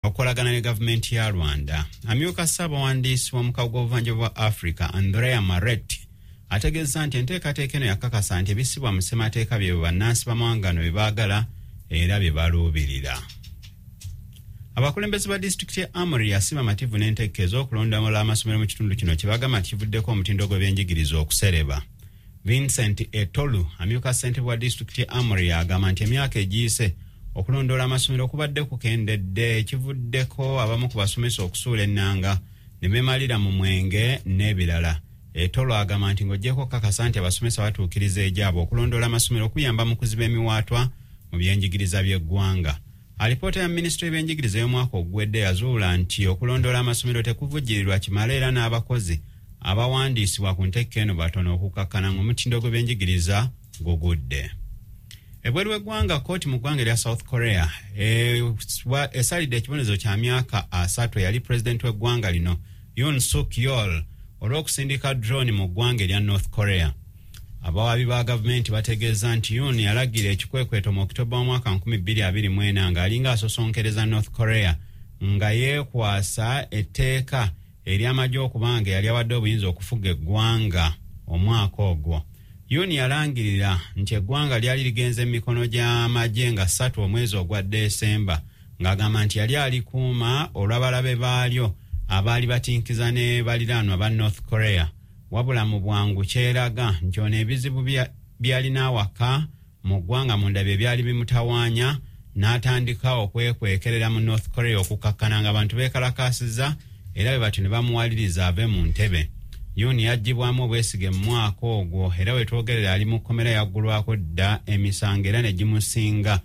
Okukolagana ne gavumenti ya Rwanda. Amyuka ssaabawandiisi w'omukago gw'obuvanjuba bwa Africa, Andrea Maret, ategeeza nti enteekateeka eno yakakasa nti ebissibwa mu ssemateeka byebyo bannansi b'amawanga gano bye baagala era bye baluubirira. Abakulembeze ba disitulikiti ya Amoria si bamativu n'entegeka ez'okulondoola amasomero mu kitundu kino kye bagamba nti kivuddeko omutindo gw'ebyenjigiriza okusereba. Vincent Etolu, amyuka ssentebe wa disitulikiti ya Amoria, agamba nti emyaka egiyise okulondoola amasomero kubadde kukendedde, ekivuddeko abamu ku basomesa okusuula ennanga ne beemalira mu mwenge n'ebirala. Etolu agamba nti ng'oggyeko okukakasa nti abasomesa batuukiriza egyabwe, okulondoola amasomero kuyamba mu kuziba emiwaatwa mu byenjigiriza by'eggwanga. Alipoota ya minisitule y'ebyenjigiriza ey'omwaka oguwedde yazuula nti okulondoola amasomero tekuvujjirirwa kimala era n'abakozi abawandiisibwa ku nteeka eno batono, okukakkana ng'omutindo gw'ebyenjigiriza gugudde. Ebweru w'eggwanga, kkooti mu ggwanga erya South Korea esalidde ekibonerezo kya myaka 30 eyali pulezidenti w'eggwanga lino Yoon Suk Yeol olw'okusindika drone mu ggwanga erya North Korea. Abawaabi ba gavumenti bategeeza nti Yoon yalagira ekikwekweto mu Okitoba w'omwaka 2024 ng'alinga asosonkereza North Korea, nga yeekwasa etteeka ery'amagye okubanga yali awadde obuyinza okufuga eggwanga. Omwaka ogwo Yoon yalangirira nti eggwanga lyali ligenze mu mikono gy'amagye nga 3 omwezi ogwa Desemba, ng'agamba nti yali alikuuma olw'abalabe baalyo abaali batinkiza ne baliraanwa ba North Korea. Wabula mu bwangu kyeraga nti ono ebizibu byalina awaka mu ggwanga munda bye byali bimutawaanya, n'atandika okwekwekerera mu North Korea okukakkana nga abantu beekalakaasiza era bwe batyo ne bamuwaliriza ave mu ntebe. Yoon yaggyibwamu obwesige mu mwaka ogwo era we twogerera ali mu kkomera, yaggulwako dda emisango era ne gimusinga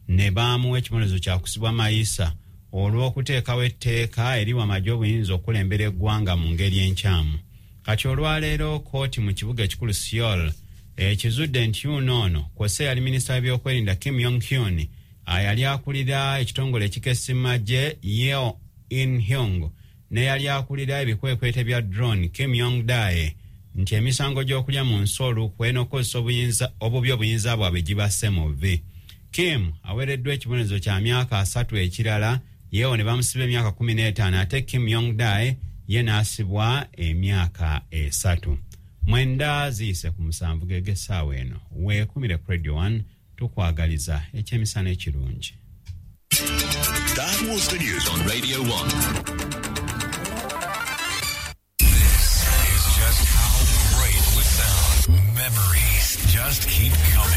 ne baamuwa ekibonerezo kya kusibwa mayisa olw'okuteekawo etteeka eriwa amagye obuyinza okukulembera eggwanga mu ngeri enkyamu. Kati olwaleero kkooti mu kibuga ekikulu Seoul ekizudde nti Yoon ono kw'ossa eyali minisita w'ebyokwerinda Kim Yong Hyun, ayali akulira ekitongole ekikessi magye Yeo In Hyung, n'eyali akulira ebikwekweto bya drone Kim Yong Dae nti emisango gy'okulya mu nsi olukwe n'okukozesa obubi obuyinza bwabwe gibasse mu vvi. Kim aweereddwa ekibonerezo kya myaka 30 ekirala, Yeo ne bamusiba emyaka 15, ate Kim Yong Dae ye n'asibwa emyaka 3. 7:09 geg'essaawa eno. Weekumire ku Radio 1, tukwagaliza ekyemisana ekirungi. That was the news on Radio 1. This is just how great we sound. Memories just keep coming.